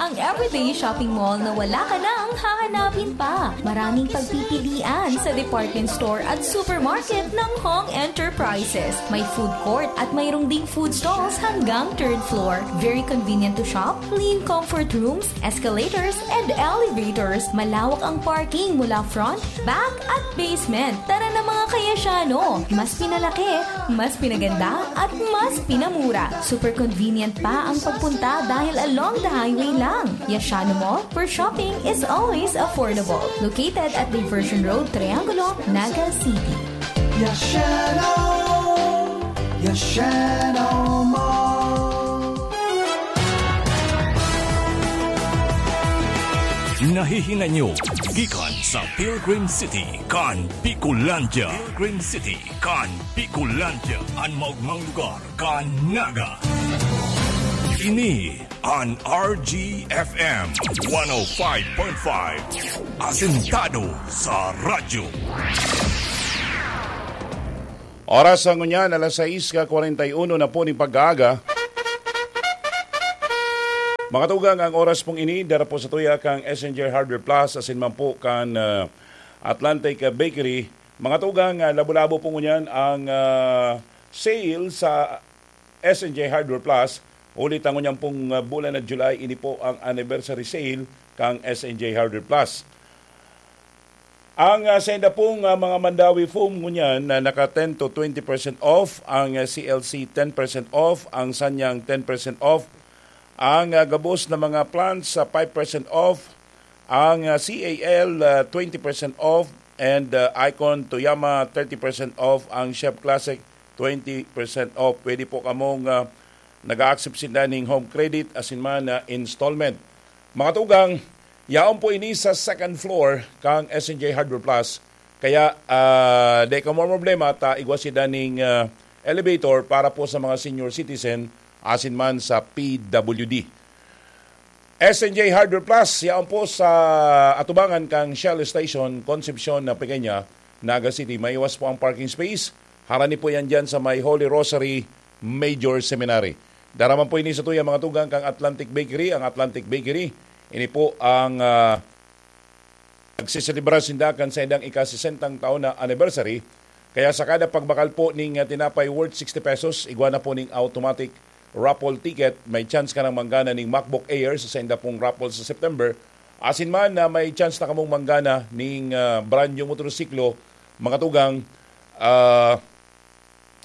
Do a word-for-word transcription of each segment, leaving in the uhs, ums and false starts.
Ang everyday shopping mall na wala ka nang hahanapin pa. Maraming pagpipilian sa department store at supermarket ng Hong Enterprises. May food court at mayroong ding food stalls hanggang third floor. Very convenient to shop, clean comfort rooms, escalators, and elevators. Malawak ang parking mula front, back, at basement. Tara na, mga kayasyano! Mas pinalaki, mas pinaganda, at mas pinamura. Super convenient pa ang pagpunta dahil along the highway lang. Yashano Mall, where shopping is always affordable. Located at Diversion Road, Triangulo, Naga City. Yashano! Yashano Mall! Nahihinay nyo gikan sa Pilgrim City kan Bicolandia. Pilgrim City kan Bicolandia, an maogmang lugar kan Naga. Ini an R G F M one oh five point five, asentado sa radyo. Oras sa ngunyan, alas sais ka kwarenta y uno na po ning pag-aaga. Mga tugang, ang oras pong ini, dara po sa tuya kang S N J Hardware Plus, asin man po kan, ah, Atlantic, ah, Bakery. Mga tugang, ah, labo-labo po ngunyan ang, ah, sale sa S N J Hardware Plus. Huli ta ngunyan pong, ah, bulan na July, ini po ang anniversary sale kang S N J Hardware Plus. Ang, ah, senda pong, ah, mga Mandawi foam ngunyan na naka ten to twenty percent off, ang, ah, C L C ten percent off, ang Sanyang ten percent off, ang, ah, gabos na mga plants sa five percent off, ang, ah, C A L, ah, twenty percent off, and, ah, Icon Toyama thirty percent off, ang Chef Classic twenty percent off. Pwede po kamong, ah, nag-a-accept sinda ning home credit asin man na installment. Mga tugang, yaon po ini sa second floor kang S N J Hardware Plus. Kaya, ah, dai kamo problema ta igwa sinda ning, ah, elevator para po sa mga senior citizen asin man sa P W D. S N J Hardware Plus, yaon po sa atubangan kang Shell Station, Concepcion na Pequeña, Naga City. Maiwas po ang parking space. Harani po yan dyan sa may Holy Rosary Major Seminary. Dara man po ini sa tuya, mga tugang, kang Atlantic Bakery. Ang Atlantic Bakery, ini po ang, ah, nagseselebra sinda kan saindang ika-sesentang taon na anniversary. Kaya sa kada pagbakal po ning, ah, tinapay worth sixty pesos, igwa na po ning automatic raffle ticket. May chance ka nang manggana ning MacBook Air sa sainda pong raffle sa September. Asin man na may chance na kamong manggana ning, ah, brand new motorsiklo, mga tugang, ah,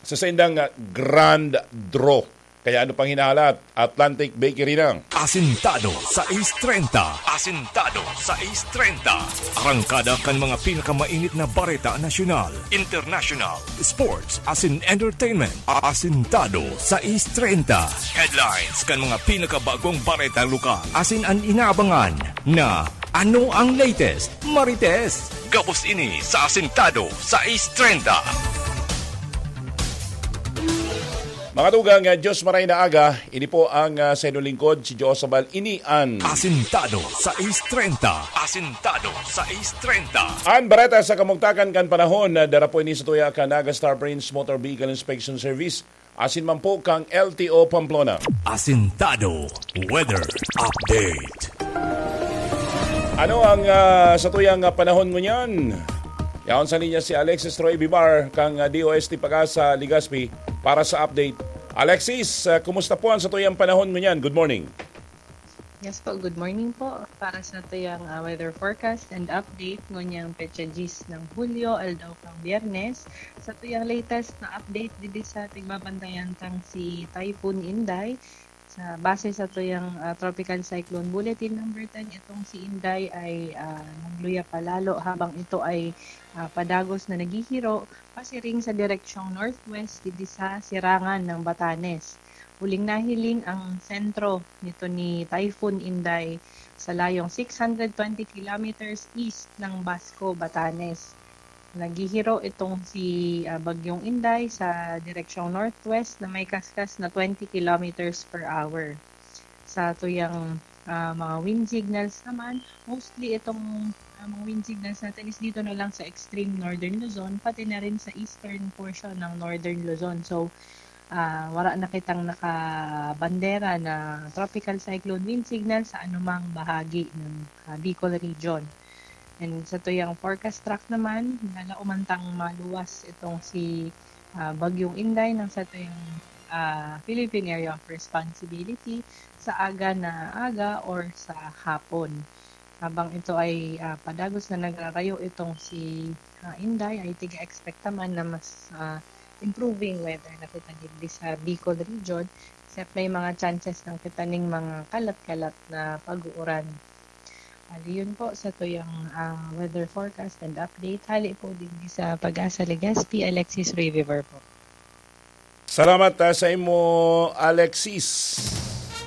sa saindang, ah, grand draw. Kaya ano pang hinahalat? Atlantic Bakery na. Asintado sais treinta. Asintado sais treinta. Arangkada kan mga pinakamainit na bareta nasyonal, international, sports, asin entertainment. Asintado sais treinta. Headlines kan mga pinakabagong bareta lokal. Asin an inaabangan na ano ang latest, Marites. Gabos ini sa Asintado sais treinta. Mga tugang, ah, Diyos maray na aga. Ini po ang, ah, sa inyong lingkod, si Joe Sabal. Ini an Asintado sais treinta. Asintado sais treinta. An bareta sa kamugtakan kan panahon na dara po ini sa tuya kan Naga Star Prince Motor Vehicle Inspection Service. Asin man po kang L T O Pamplona. Asintado Weather Update. Ano ang, ah, sa tuyang, ah, panahon ngunyan? Yaon sa linya si Alexis Troy Bibar kang, ah, D O S T Pag-asa Legazpi para sa update. Alexis, ah, kumusta po ang sa tuyang panahon ngunyan? Good morning. Yes po, good morning po. Para sa tuyang, ah, weather forecast and update, ngonyang petsa diyes ng Hulyo, aldaw kang Biyernes, sa tuyang latest na update, didi sa tigbabantayan tang si Typhoon Inday. Sa base sa tuyang, ah, Tropical Cyclone Bulletin number ten, itong si Inday ay, ah, nagluya palalo habang ito ay, ah, padagos na naghihiro pasiring sa direksyong northwest didi sa sirangan ng Batanes. Huling nahiling ang sentro nito ni Typhoon Inday sa layong six hundred twenty kilometers east ng Basco, Batanes. Naghihiro itong si, ah, Bagyong Inday sa direksyong northwest na may kaskas na twenty kilometers per hour. Sa tuyang, ah, mga wind signals naman, mostly itong, ah, mga wind signals natin is dito na lang sa extreme northern Luzon, pati na rin sa eastern portion ng northern Luzon. So, ah, wala na kitang nakabandera na tropical cyclone wind signal sa anumang bahagi ng, ah, Bicol region. And sa tuyang forecast track naman, nalaumantang maluwas itong si, ah, Bagyong Inday ng sa tuyang, ah, Philippine Area of Responsibility sa aga na aga or sa hapon. Habang ito ay, ah, padagos na nagrarayo itong si, ah, Inday, ay tiga-expect naman na mas, ah, improving weather na kita digdi sa Bicol region, except may mga chances lang kita ning mga kalat-kalat na pag-uuran. Ali, yun po sa tuyang, ah, weather forecast and update. Hali po digdi sa Pag-asa Legazpi, Alexis Riviver po. Salamat, ah, sa imo, Alexis.